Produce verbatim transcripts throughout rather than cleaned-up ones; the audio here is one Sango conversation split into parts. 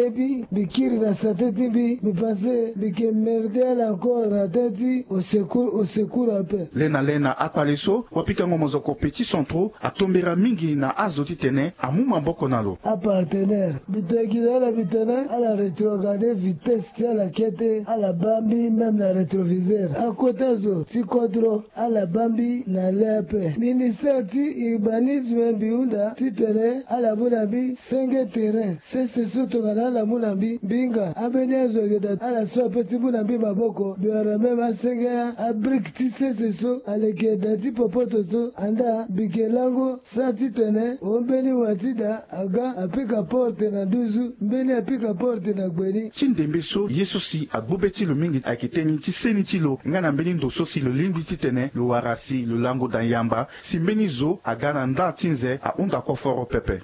Ebi mbi kiri na sante ti mbi, mbi pense mbi ke merde ala encore na teti au secours, au secours ape. Lena lena akpale so wapikango mozoko Petit Centraux atombera mingi na azo titene amu maboko na lo. Apartener mbi tegi na ala mbi tene ala retrograde vitesse ti ala kete ala baa mbi même na retroviseur. Akota zo ti kodro ala baa mbi na le ape. Ministère ti urbanisme mbi hunda titene ala mu na mbi senge terrain sese so tongana ala mu na mbi mbi hinga ambeni azo ayeke daa ala so ape ti mu na mbi maboko. Mbi wara même asenge abrique ti sese so aleke daa ti popoto so anda mbi ke lango sa titene o mbeni wa ti daa aga apika porte na nduzu mbeni apika porte na gbeni. Ti ndembe so ye so si agbu be ti lo mingi ayeke teni ti seni ti lo nga na mbeni ndo so si lo lingbi titene lo wara si lo lango daa yamba si mbeni zo aga na nda ti nze ahunda koforo pepe.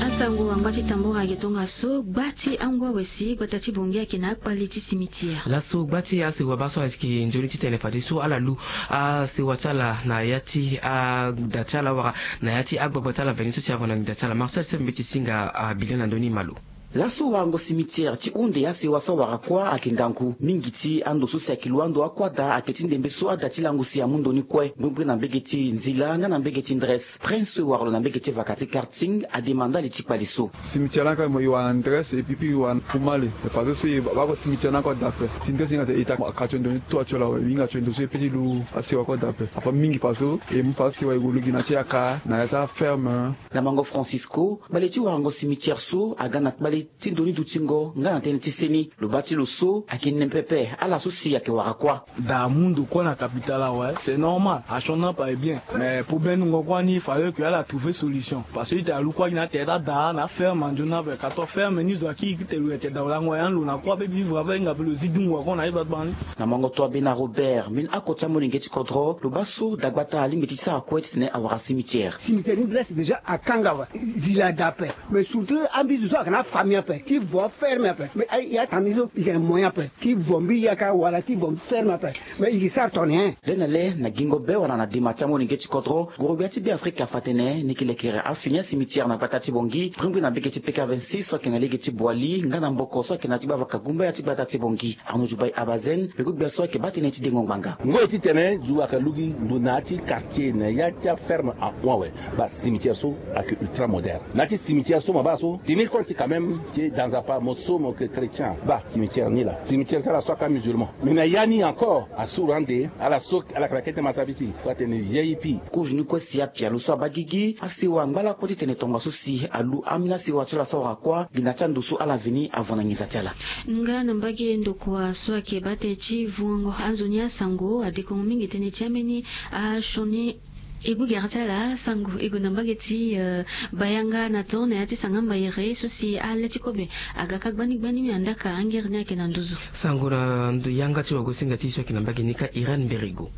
Asango angba ti tambora ayeke tongaso gba ti angu awe si gbata ti bongi ayeke na akpali ti simitiere. Laso gba ti asewa baa so ayeke nzoni titene fadeso ala lu asewa ti ala na ya ti ada ti ala wala na ya ti agbagba ti ala veni so si avo na nginza ti ala marcel sef mbeti singa abile na ndoni malo. Laso warango simitiere ti hunde asewa so awara kuâ ayeke ngangu mingi ti ando so si ayeke lu ando akuâ daa ayeke ti ndembe so ada ti lango si amu ndo ni kue mbirimbiri na mbege ti nzila nga na mbege ti ndres prince so e wara lo na mbege ti vaka ti karting ademanda li ti kpali so. Simitiere ni aka mo e wara na ndres epi e wara na pumale. Fadeso e baa ko simitiere ni aka daa ape ti ndres e hinga tene e ta ka tio ndo ni to atio lawe e hinga tio ndo so e pe ti lu asewa ko daa ape. Ape mingi fadeso e mu fadeso e wara e gue lu gi na ti yaka na ya ti aferme. Na mango francisco kpale ti warango simitiere so aga na kpale ti ndo ni dutingo nga na tënë ti seni lo baa ti lo so ayeke nene pepe ala so si ayeke wara kuâ. Daa amu ndo kuâ na capital awe c'est normal. Asioni ape aye bien mais problème nungo kuâ ni fallait que ala trouver solution parce que ita alu kuâ gi na tere ti adaa na aferme anzoni ape kato aferme ni zo akiri ti te lo ete daa olango ya ni lo na kuâ pe vivre ape hinga pe lo zi dungo ako na ye gbagba ni. Na mango to abe na robert mbeni ako ti amolenge ti kodro lo baa so dagbata alingbi ti sara kue titene awara simitiere. Simitiere ni dresse déjà akanga awe. Zila daa ape. Mais surtout ambi zo so ayeke na afamille ape ti vo aferme ape mais aye atangi so i yeke na moyen ape ti vo mbi yaka wala ti vo mbi ferme ape. Mais i ke sara tongana nyen? Lê na lê na gingo be wala na dema ti amolenge ti kodro gorogbia ti be afrika afa atene ni ke lekere afini asimitiere na gbata ti bongi bringbi na mbege ti peka vingt-six so ayeke na lege ti boili nga na mboko so ayeke na ti gbavaka gumbaya ti gbata ti bongi. Arnaud jubai abazen mbi gugbia so ayeke baa tënë ti dengo ngbanga. Ngoi titene zu ayeke lu gi ndo na ya ti quartier na ya ti aferme ahon awe. Baa simitiere so ayeke ultra moderne na ya ti simitiere so mo baa so tenir compte quand même ti danzapa mo so mo yeke chrétien baa simitiere ni laa simitiere ti ala so aka musulman. Mais na ya ni encore asuru ande ala so ala yeke na kete masabisi. Kue atene vieille pi. Kozo ni kue si apia lo so abaa gigi asewa angba lakue titene tongaso si alu ambeni asewa ti ala so awara kuâ gi na ti ando so ala veni avo na nginza ti ala. Nga na mbage ndokua so ayeke baa tënë ti vungango anzoni asango adekongo mingi tënë ti ambeni asioni. E gbu gere ti ala sango e gue na mbage ti bayanga na tor na ya ti sanga mbayere so si ale ti kobe aga ka gbani gbani andaa ka angere ni ayeke na nduzu. Sango na yanga ti wagosinga ti e so ayeke na mbage ni ka irène mberigo.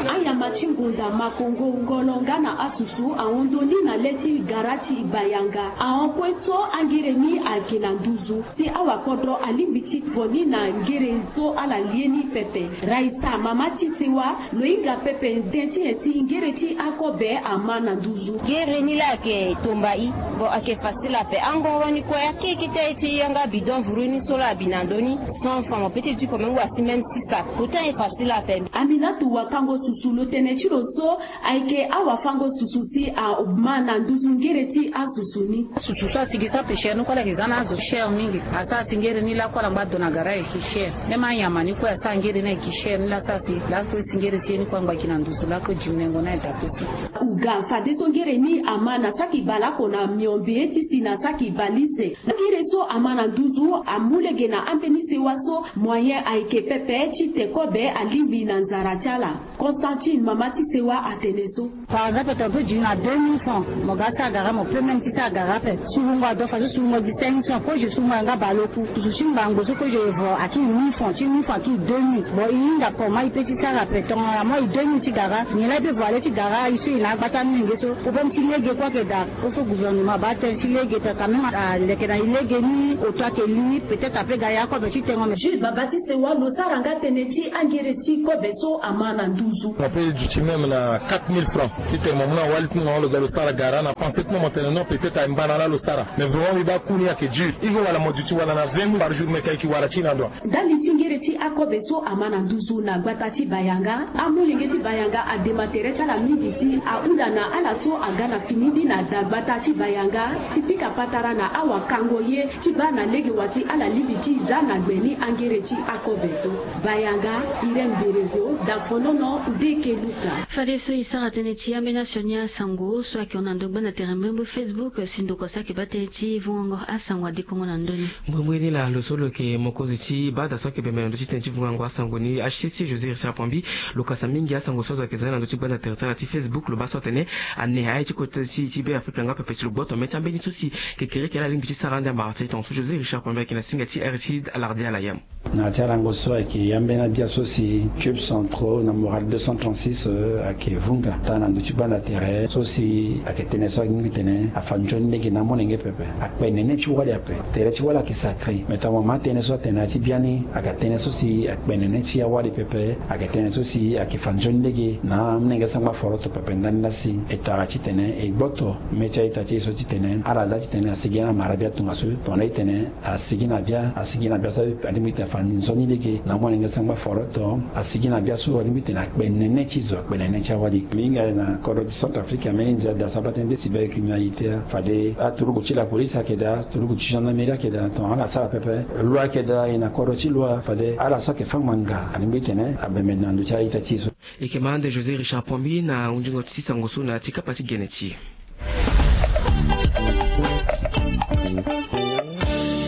Anyama ti ngonda makongo ngolo nga na asusu ahon ndo ni na le ti gara ti bayanga ahon kue so angere ni ayeke na nduzu. Si awakodro alingbi ti vo ni na ngere so ala lie ni pepe. Raisa mama ti sewa lo hinga pepe nde ti nyen si ngere ti akobe ama na nduzu. Ngere ni laa ayeke tomba i. Bon ayeke facile ape angoro ni kue akeke ti aye ti yanga bidon vuru ni so laa abi na ndö ni. Cent francs mo pe ti diko même wasi même six sacs pourtant e facile ape. Aminatu wakango susu lo tene ti lo so ayeke awafango susu si ama na nduzu ngere ti asusu ni. Susu so asi gi so ape chere ni kue ala yeke za na azo chere mingi. Asara si ngere ni lakue ala ngba do na gara ayeke chere. Même anyama ni kue asara ngere ni ayeke chere ni laa asara si lakue si ngere ti ye ni kue angba gi na nduzu lakue diminengo ni ayeke daa peso. Uga fadeso ngere ni ama na saki baleoko na miombe ti si na saki balise. Ngere so ama na nduzu amu lege na ambeni sewa so moyen ayeke pepe ti te kobe alingbi na nzara ti ala. Constantine mama ti sewa atene so. Par exemple tongana pe diri na deux mille francs mo ga sara gara mo pe même ti sara gara ape. Surungo ado fadeso surungo gi cinq cents kozo surungo ayanga baleoku. Tutu ti ngbangbo so kozo e vo akiri mille francs ti mille francs akiri deux mille. Bon e hinga comment e pe ti sara ape tongana moi deux mille ti gara nyen laa e pe vo ale ti gara e so e na agba ti amenge so problème ti lege kue ayeke daa. Kofo gouvernement abaa tënë ti lege tene quand même aleke na e lege ni oto ayeke li peut-être ape ga ya akobe ti tengo me. Jules baba ti sewa lo sara nga tënë ti angere ti kobe so ama na nduzu. Ape e duti même na quatre mille francs titene mo mu na wali ti mo lo ga lo sara gara. Ala na pensé ti mo mo tene non, peut-être aye mba na ala lo sara. Mais vraiment mbi baa ku ni ayeke dur. Hiro wala mo duti wala na vingt mille par jour, meke ayeke wara ti na ndo. Ndali ti ngere ti akobe so ama na nduzu na gbata ti Bayanga. Amolenge ti Bayanga adema tere ti ala mingi si ahunda na ala so aga na fini ni na dagbata ti Bayanga ti pika patara na awakango ye ti baa na lege wa si ala lingbi ti za na gbe ni angere ti akobe so. Bayanga, Irène Berevo, Dafonono, Ndeke Luka. Fadeso e sara tënë ti ambeni asioni asango so ayeke hon na ndo gbanda tere mbrimbri Facebook si ndokua so ayeke baa tënë ti vungango asango adekongo na ndö ni. Mbrimbri ni laa lo so lo yeke mokonzi ti bata so ayeke bembe na ndö ti tënë ti vungango asango ni, H C C, José Richard Pambi, lo kasa mingi asango so azo ayeke za ni na ndö ti gbanda tere ti ala ti Facebook. Lo baa so atene ane aye ti kota ti ti Be Afrika nga pepe si lo gboto mê ti ambeni so si kekereke ala lingbi ti sara ande amara ti e. Tongaso José Richard Pambi ayeke na singa ti R C I alardi ala yam. Na ya ti alango so ayeke ya mbeni abia so si Cube Centraux na Moral deux cent trente-six, euh, ayeke vunga taa na ndö ti gbanda tere so si ayeke tënë so alingbi tene afa nzoni lege na amolenge pepe. Akpe nene ti wali ape. Tere ti wali ayeke sacré. Mais tongana mama atënë so atene na ya ti biani ayeke tënë so si akpe nene ti awali pepe. Ayeke tënë so si ayeke fa nzoni lege na amolenge sangba foroto pepe ndani laa si e tara titene e gboto mê ti a-ita ti e so titene ala za titene asigi na mara bia tongaso tongana e tene asigi na bia, asigi na bia so alingbi tene afa nzoni lege na amolenge sangba foroto. Asigi na bia so alingbi tene akpe nene ti zo, akpe nene ti awali. Mbi hinga na kodro ti Centrafrique ambeni nzia da so abaa tënë ti cybercriminalité. Fade aturugu ti la police ayeke daa, aturugu ti gendarmerie ayeke daa, tongana ala sara pepe. Loi ayeke daa, e na kodro ti loi. Fade ala so ayeke fâ ngbanga alingbi tene abembe na ndö ti a-ita ti e so. E yeke ma ande José Richard Pambi na hunzingo ti sango so na ya ti kapa ti gene ti e.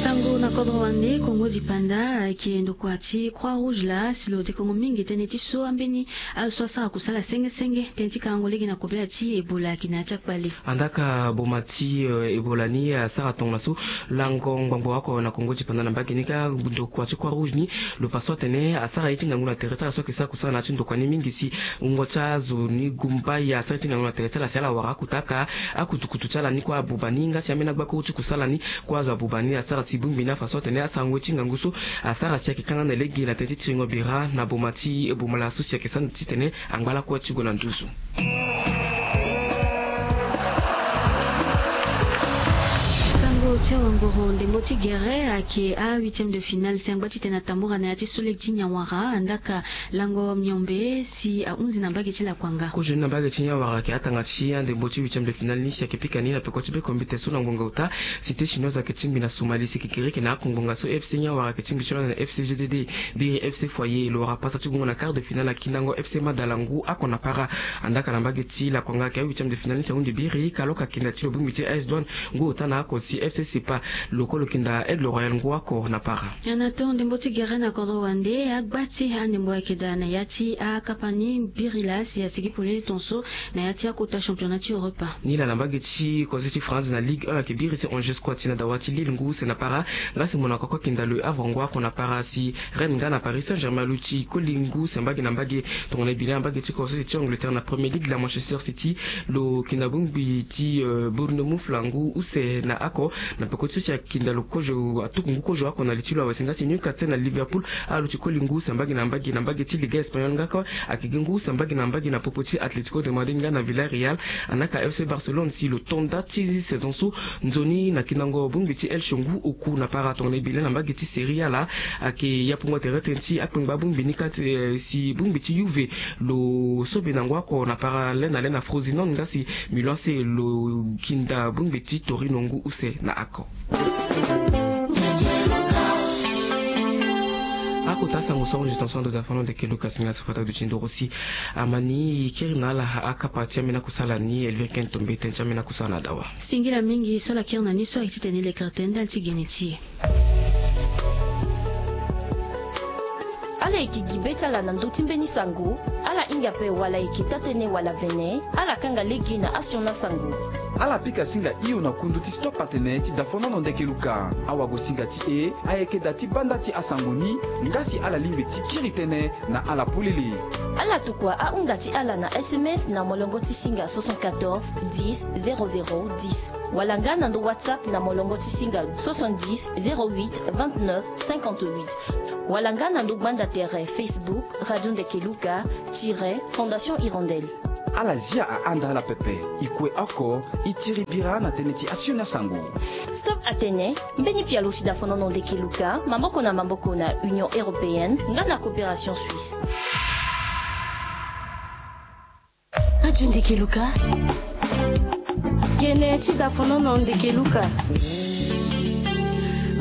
Sango na kodro wande Kongo dipanda ayeke ndokua ti Croix Rouge laa si lo dekongo mingi tënë ti so ambeni azo so asara kusala senge senge tënë ti kangango lege na kobela ti Ebola ayeke na ya ti akpale. Andaka boma ti, euh, Ebola ni asara tongana so lango ngbangbo oko na Kongo dipanda na mbage ni kâ ndokua ti Croix Rouge ni lo fa so atene asara ye ti ngangu na tere ti ala so ayeke sara kusala na ya ti ndokua ni mingi si wungo ti azo ni gumba ye asara ye ti ngangu na tere ti ala si ala wara akota aka akutukutu ti ala ni kue abuba ni nga si ambeni agbakuru ti kusala ni kue azo abuba ni asara si bongbi ni afa so atene asarango ye ti ngangu so asara si ayeke kanga na lege na tënë ti tiringo bira na boma ti boma la so si ayeke sanda titene angba lakue ti gue na nduzu. Sango ti awangoro ndembo ti gere ayeke a huitième de finale si angba titene atambura na ya ti so lege ti nyanwara andaka lango miombe si ahunzi na mbage ti lakuanga. Kozo ni na mbage ti nyanwara ayeke atanga ti andembo ti huitième de finale ni si ayeke pika ni na peko ti bekombite so na ngonga ota. Cité chinoise ayeke tingbi na Somalie si kekereke na akongbonga so F C Nyanwara ayeke tingbi ti lo na F C G D D. Biri F C Foyer lo wara pasa ti gungo na quart de finale akindango F C Madala ngu oko na para. Andaka na mbage ti lakuanga ayeke a huitième de finale ni si ahundi biri kalo ka kinda ti lo bongbi ti A S Douane ngu ota na oko si F C Sepa lo kue lo kinda Aigle Royal ngu oko na para. Na tongo ndembo ti gere na kodro wande agba ti andembo ayeke daa na ya ti akapa ni biri laa si asigi polele tongaso na ya ti akota championnat ti Europa. Ni laa na mbage ti kozo ti France na Ligue un ayeke biri si Angers kue ti na dawa ti Lille ngu use na para. Nga si Monaco kue akinda Le Havre ngu oko na para si Rennes nga na Paris Saint-Germain aluti koli ngu use mbage na mbage. Tongana e bi na mbage ti kozo ti Angleterre na Premier League la Manchester City lo kinda bongbi ti, euh, Bournemouth la ngu use na oko. Na peko ti so si akinda lo kozo atuku ngu kozo oko na li ti lo awe si nga si Newcastle na Liverpool aluti koli ngu use mbage na mbage. Na mbage ti Liga Espagnol nga kue ayeke gi ngu use mbage na mbage na popo ti Atlético de Madrid nga na Villarreal. Andaka F C Barcelone si lo to nda ti saison so nzoni na kindango bongbi ti Elche ngu oku na para. Tongana e bi le na mbage ti Serie A la ayeke yapungo tere tënë ti akpengba bongbi ni kâ ti, eh, si bongbi ti Juve lo sobe na ngu oko na para le na le na Frosinone nga si Milan A C lo kinda bongbi ti Torino ngu use na oko. Akota sango so ahunzi tongaso na ndo da fano ndeke Luka si nga so fata duti ndoro si amani kiri na ala akapa ti ambeni akusala ni Elvire Ken Tombe tënë ti ambeni akusala na dawa. Singila mingi so ala kiri na ni so ayeke titene lekere tënë ndali ti gene ti e. Ala yeke gi be ti ala na ndö ti mbeni sango, ala hinga ape wala e yeke taa-tënë wala vene, ala kanga lege na asioni asango. Ala pika singa hio na kundu ti Stop Atene ti Dafonono Ndeke Luka. Awagosinga ti e ayeke da ti banda ti asango ni, nga si ala lingbi ti kiri tënë na ala polele. Ala tokua ahunda ti ala na S M S na molongo ti singa soixante-quatorze dix zéro zéro dix, wala nga na ndo WhatsApp na molongo ti singa soixante-dix zéro huit vingt-neuf cinquante-huit, wala nga na ndo gbanda tere Facebook Radio Ndeke Luka tiret Fondation Hirondelle. Ala zia ahanda ala pepe. E kue oko, e tiri bira na tënë ti asioni asango. Stop atene, mbeni pialo ti dafonono ndeke luka maboko na maboko na Union Européenne nga na Coopération Suisse. Radio Ndeke Luka. Tënë ti dafonono ndeke luka.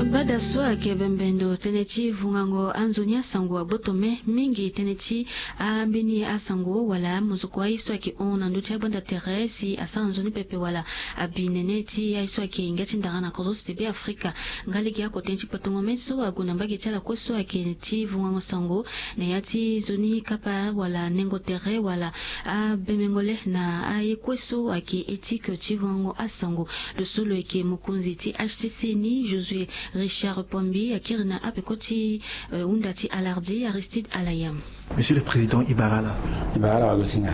Gbada so ayeke bembendo tënë ti vungango anzoni asango agboto me mingi. Tënë ti ambeni asango wala amozoko aye so ayeke hon na ndö ti agbanda tere si asara nzoni pepe wala abi nene ti aye so ayeke ngia ti ndara na kozo ti Be Afrika. Nga lege oko tënë ti kpatongo me so ague na mbage ti ala kue so ayeke ti vungango sango na ya ti nzoni kapa wala nengo tere wala abembengo le na aye kue so ayeke éthique ti vungango asango. Lo so lo yeke mokonzi ti H C C ni, Josué Richard Pombi, akiri na apeko ti, eh, hunda ti Alardi Aristide Alayam. Monsieur le Président, e bara ala. E bara ala wagosinga.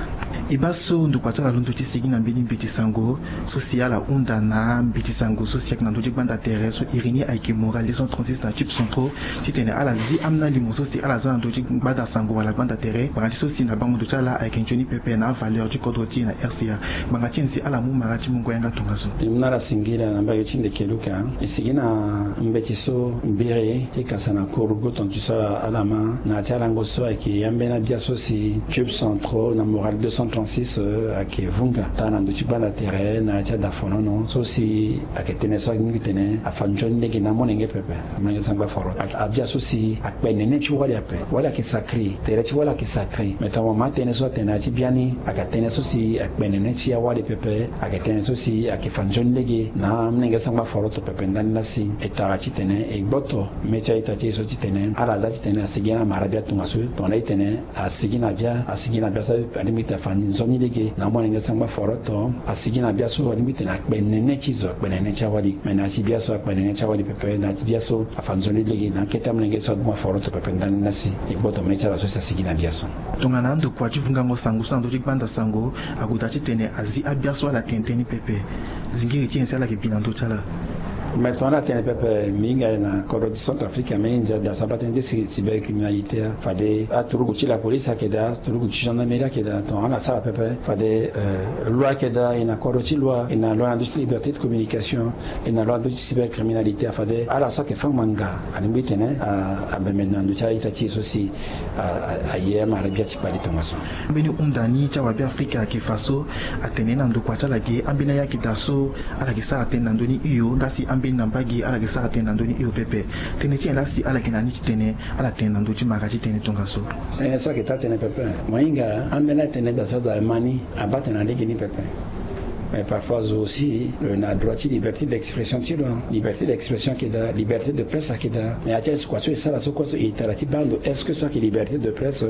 E baa so ndokua ti ala londo ti sigi na mbeni mbeti sango so si ala hunda na mbeti sango so si ayeke na ndö ti gbanda tere so iri ni ayeke Moral deux cent trente-six na Tube Centraux, titene ala zi ambeni alimo so si ala za na ndö ti gbanda sango wala gbanda tere. Ngbanga ti so si na bango ndo ti ala ayeke nzoni pepe na avaleur ti kodro ti e na R C A. Ngbanga ti nyen si ala mu mara ti mungo yanga tongaso? E mu na ala singila na mbage ti ndeke luka. E sigi na mbeti so mbiri ti kasa na kuru goton ti so ala ma na ya ti alango so ayeke ambeni abia so si Tube Centraux na Moral deux cent trente-six, euh, ayeke vunga taa na ndö ti gbanda tere na ya ti adafonono so si ayeke tënë so alingbi tene afa nzoni lege na amolenge pepe. Amolenge sangba foro. Ayeke abia so si akpe nene ti wali ape. Wali ayeke sacré. Tere ti wali ayeke sacré. Mais tongaso mo ma tënë so atene na ya ti biani ayeke tënë so si akpe nene ti awali pepe. Ayeke tënë so si ayeke fa nzoni lege na amolenge sangba foro to pepe ndani lasi. E tara titene e gboto me ti a-ita ti e so titene ala za titene asigi na mara bia tongaso. Tongana e tene asigi na bia, asigi na bia so alingbi tene afa nzoni lege na amolenge sangba foro to asigi na bia so alingbi tene akpe nene ti zo, akpe nene ti awali. Me na ya ti bia so akpe nene ti awali pepe, na ya ti bia so afa nzoni lege na akete amolenge so agbuma foro to pepe ndani lasi. E gboto me ti ala so si asigi na bia so. Tongana andokua ti vungango sango so na ndö ti gbanda sango ague daa titene azi abia so ala tene tënë ni pepe, zingiri ti nyen si ala yeke bi na ndö ti ala? Me tongana ala tene pepe, mbi hinga na kodro ti Centrafrique, ambeni nzia daa so abaa tënë ti cy-, cybercriminalité, fade aturugu ti la police ayeke daa, aturugu ti gendarmerie ayeke daa, tongana ala sara pepe fade, euh, loi ayeke daa, e na kodro ti loi, e na loi na ndö ti liberté de communication, e na loi na ndö ti cybercriminalité, fade ala so ayeke fâ ngbanga alingbi tene a, abembe na ndö ti a-ita ti e so si a, a, aye amara bia ti kpale tongaso. Ambeni hunda ni ti awabe Afrika ayeke fa so atene na ndokua ti ala ge, ambeni aye ayeke daa so ala yeke sara tënë na ndö ni hio, nga si ambeni na mbage ala yeke sara tënë na ndö ni hio pepe. Tënë ti nyen laa si ala yeke na ni ti tene ala tene na ndö ti mara ti tënë tongaso? Tënë so ayeke taa tënë pepe. Mo hinga ambeni atënë daa so aza ma ni abaa tënë na lege ni pepe. Mais parfois zo aussi lo na droit ti liberté d'expression ti lo. Liberté d'expression ayeke daa, liberté de presse ayeke daa. Mais aye ti aye so kua so e sara so kue so e tara ti baa ndo, est-ce que so ayeke liberté de presse,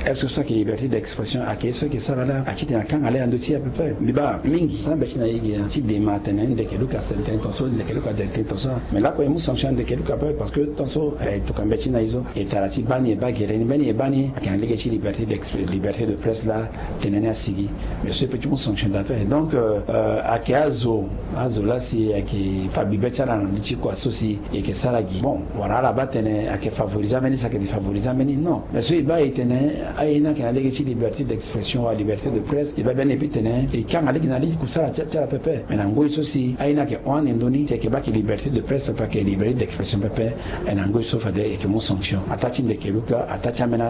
est-ce que so ayeke liberté d'expression? Ayeke ye so ayeke sara laa, ayeke titene akanga laa na ndö ti e ape. Mbi baa mingi, so ambe ti na e ge ti dema atene ndeke luka, tene tongaso ndeke luka, tene tongaso. Mais lakue e mu sanction na ndeke luka ape, parce que tongaso e tokua mbeti na e so. E tara ti baa ni e baa gere ni, mbeni e baa ni ayeke na lege ti liberté d'exp-, liberté de presse laa tënë ni asigi. Mais so e peut ti mu sanction daa ape. Donc, euh, euh, ayeke azo, azo laa si ayeke fa bibe ti ala na ndö ti kua so si e yeke sara gi. Bon, wala ala baa tene ayeke favoriser ambeni si ayeke défavoriser ambeni, non. Mais so e baa e tene aye ni ayeke na lege ti liberté d'expression wala liberté de presse, e baa biani e peut tene e kanga lege na lege kusala ti, ti ala pepe. Mais na ngoi so si aye ni ayeke hon ande ndoni, si ayeke baa ayeke liberté de presse pepe, ayeke liberté d'expression pepe, e na ngoi so fade e yeke mu sanction. Ataa ti ndeke luka, ataa ti ambeni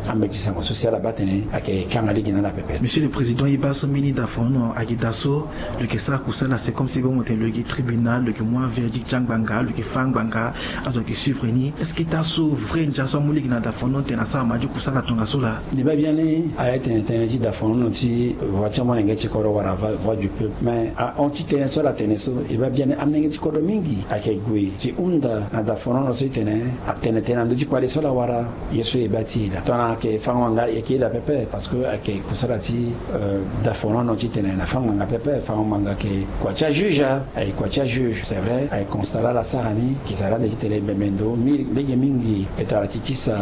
ambeti sango so si ala baa tene ayeke kanga lege na ala pepe. Monsieur le Président, e baa so mbeni dafonono ayeke daa so lo yeke sara kusala, c'est comme si bongo tene lo yeke tribunal, lo yeke mu averdict ti angbanga, lo yeke fâ angbanga, azo ayeke suivre ni. Est-ce que taa so vrai ndia so amu lege na dafonono tene asara ma ti kusala tongaso laa? E baa biani aye tene tënë ti dafonono ti voix ti amolenge ti kodro wala voix, voix du peuple. Mais ahon ti tënë so ala tene so, e baa biani amolenge ti kodro mingi ayeke gue ti hunda na dafonono so e tene atene tënë na ndö ti kpale so ala wara. Ye so e baa ti e laa, tongana ayeke fango ngbanga, e yeke ye daa pepe, parce que ayeke kusala ti, euh, dafonono titene na fango ngbanga pepe. Fango ngbanga ayeke kua ti ajuge. Juge ayeke kua ti ajuge, c'est vrai, ayeke constat laa ala sara ni. Ayeke sara ande titene e bembe ndo lege mingi. E tara ti kisa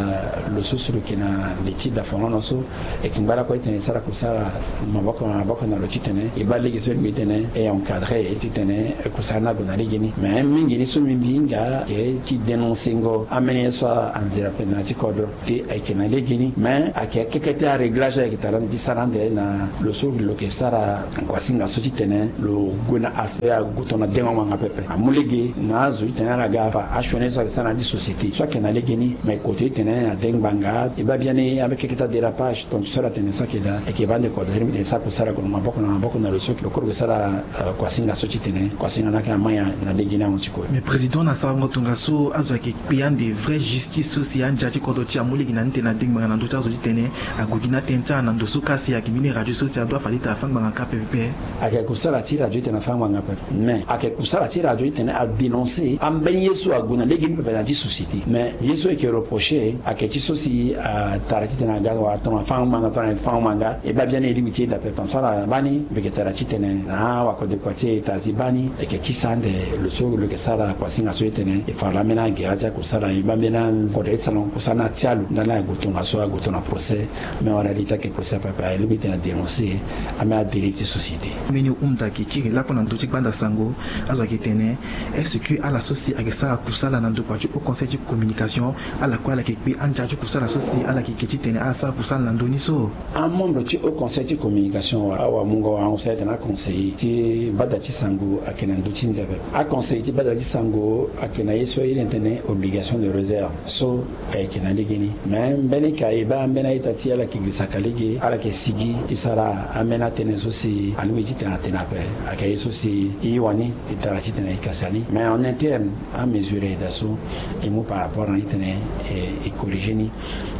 lo so si lo yeke na li ti dafonono so, e yeke ngba lakue titene e sara kusala maboko na maboko na lo titene e baa lege so e lingbi titene e encadrer titene kusala ni ague na legeni. Mais mingi ni so mbi mbi hinga ayeke ti dénoncengo ambeni ye so anzere ape na ya ti kodro. Ti ayeke na legeni, mais ayeke keke ti aréglage ayeke tara ande ti sara ande na lo so lo yeke sara kuasinga so titene lo gue na aspect ague tongana dengo ngbanga pepe. Amu lege na azo titene ala ga fa asioni so ayeke sara na ya ti société so ayeke na legeni. Mais kote titene ade ngbanga e baa biani ambeni keke ti adérapage. Tonga ti so ala tene so ayeke daa, e yeke baa ande kodro ti mbi tene e sara kusala ague na maboko na maboko na lo so lo koro yeke sara kuasinga so titene kuasinga ni ayeke amaya na legeni ahon ti kue. Mais président, na sarango tongaso azo ayeke kpe ande vraie justice so si andia ti kodro ti amu lege na ni tene ade ngbanga na ndö ti azo titene ague gi ni atene ti ala na ndo so ka si ayeke mbeni radio so si adoit fade titene afâ ngbanga ka pepe. Ayeke kusala ti radio titene afâ ngbanga pepe. Mais ayeke kusala ti radio titene adénoncer ambeni ye so ague na legeni pepe na ya ti société. Mais ye so e yeke reprocher ayeke ti so si atara titene aga wala tongana afâ ngbanga tongana e fâ ngbanga, e baa biani e lingbi ti e daa pepe. Tongaso ala baa ni, mbi yeke tara titene na awakode kua ti e e tara ti baa ni. E yeke kisa ande lo so lo yeke sara kuasinga so titene e fa lo ambeni agere ti akusala, e baa ambeni akodro ti sarango kusala ni atia lo ndani ague tongaso ague tongana procès. Mais en réalité ayeke procès pepe, e lingbi titene adénoncer ambeni adérive ti société. Mbeni hunda ayeke kiri lakue na ndö ti gbanda sango. Azo ayeke tene, est-ce que ala so si ayeke sara kusala na ndokua ti haut conseil ti communication, ala kue ala yeke kpe andia ti kusala so si ala yeke ke titene ala sara kusala na ndö ni so? Amembre ti haut conseil ti communication wala awamungo warango so ayeke tene aconseiller ti bada ti sango ayeke na ndö ti nze pepe. Aconseiller ti bada ti sango ayeke na ye so e iri tene obligation de réserve so ayeke na legeni. Mais mbeni ka e baa ambeni a-ita ti e ala yeke gi saka lege, ala yeke sigi ti sara ambeni atënë so si alingbi titene atene ape. Ayeke ye so si e wani e tara titene e kasi ani. Mais en interne amesure ayeke daa so e mu par rapport na ni titene e corriger ni.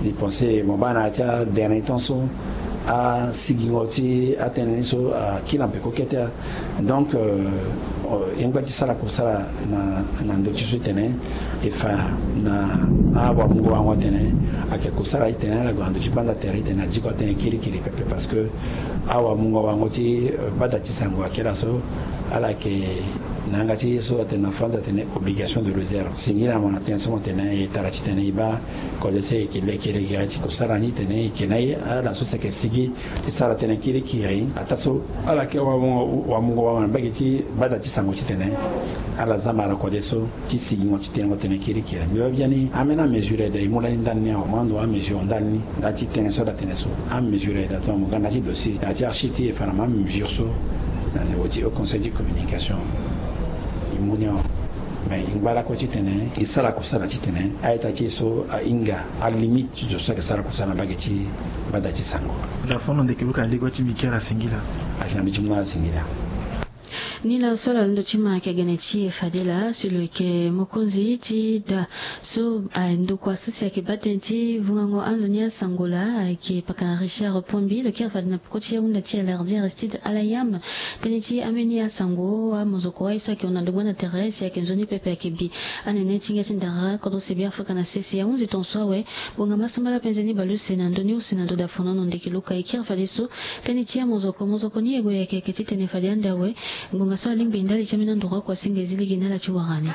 Mbi pense mo baa na ya ti adernier temps so asigingo ti atënë ni so akiri na peko kete. Donc e ngba ti sara kusala na ndö ti so titene e fa na awamungo warango atene ayeke kusala titene ala gue na ndö ti gbanda tere titene adiko atënë kirikiri pepe. Parce que awamungo warango ti bada ti sango ayeke laso ala yeke na yanga ti ye so atene na France atene obligation de réserve. Singila mo na tënë so mo tene e tara titene e baa kode so e yeke leke leke ti kusala ni titene e yeke na ye ala so si ayeke sigi ti sara tënë kirikiri ataa so ala yeke wamungo warango na mbage ti bada ti sango titene ala zamba na kode so ti sigingo ti tenengo tënë kirikiri. Mbi baa biani ambeni amesure ayeke daa e mu lani ndani ni awe mo ando amesure ndani ni. Nda ti tënë so ala tene so amesure ayeke daa tongana mo ga nda ti dossier na ya ti archive ti e fa na mo amesure so na niveau ti haut conseil ti communication. E mu ni awe. Mais e ngba lakue titene e sara kusala titene a-ita ti e so ahinga alimite ti zo so ayeke sara kusala na mbage ti bada ti sango. Dafono ndeke luka aligo ti mbi kere asingila. Ayeke na mbi ti mu na ala singila. Ni laa so ala londo ti ma ayeke gene ti e fade laa si lo yeke mokonzi ti da so ndokua so si ayeke baa tënë ti vungango anzoni asango laa ayeke pakana Richard Pombi lo kiri fade na peko ti ahunda ti Alardi Aristide Alayam. Tënë ti ambeni asango amozoko wai so ayeke hon na ndo gbanda tere si ayeke nzoni pepe ayeke bi anene ti hinga ti ndara kodro sebi Afrika na sese ahunzi tongaso awe. Ngbonga masambala penze ni baleuse na ndö ni use na ndo dafonono ndeke luka e kiri fadeso. Tënë ti amozoko mozoko ni e gue yeke yeke titene fade ande awe. Ngbonga so alingbi ndali ti ambeni andoro akuasinga e zi lege na ala ti wara ni.